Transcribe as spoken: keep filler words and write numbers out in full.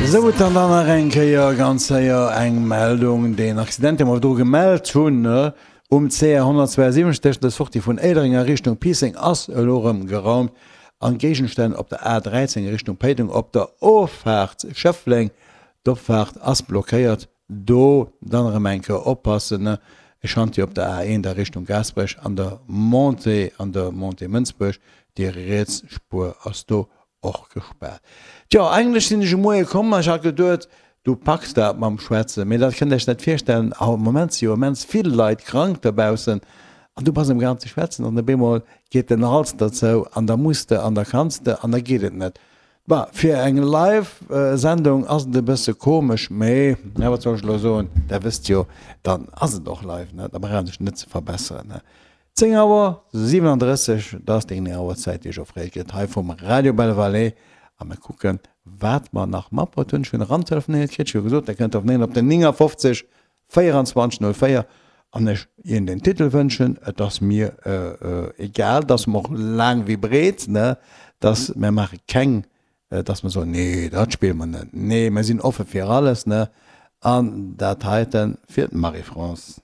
Sou, dann dann nach eng Kéier ganz séier eng Meldung, Deen Accident, dee mer do gemellt hunn um C R honnertzweiensiwwenzeg tëschent der Sortie vun Éilereng a Richtung Piisseng, ass elo erëm geraumt. An Géigenstänn op der A dräizéng Richtung Péiteng op der Offaart Schëffleng, d'Opfaart ass blockéiert. Do dann erëm eng Kéier oppassen, e Chantier op der A eent a Richtung Gaasperech an der Montée an der Montée Mënsbuerg, déi riets Spuer ass do och gespaart. Tjo, eigentlech sinn ech um Moie komm an ech hat geduet, du packs dat mam Schwätzen, mee dat kënnt Iech net virstellen, am Moment si jo immens vill Leit krank dobaussen an du bass amgaang ze schwätzen an op eemol geet den Hals der zou an da muss de an da kanns de an da geet et net. Bon, fir eng Live-Sendung ass et e bësse komesch, mee, na, wat soll ech elo soen, der wësst jo, dann ass et och live, ne, da brauch een sech net ze verbesseren, ne. Zéng Auer siwenandrësseg, dat ass déi genee Auerzäit, déi ech offréiert kritt hei vum Radio Belle Vallée. A mir kucken, wat mer nach matbruet hunn. Ech hunn erantelefonéiert kritt, ech hu gesot, der kënnt telefonéieren op den néngafofzeg véierundzwanzeg null véier an ech Iech den Titel wënschen. Et ass mir egal, et ass mer och laang wéi breet, ne, dass mer maache keng, dass mer soen, nee, dat spille mer net. Nee, mer sinn offe fir alles, ne. An dat heite fir d'Marie-France.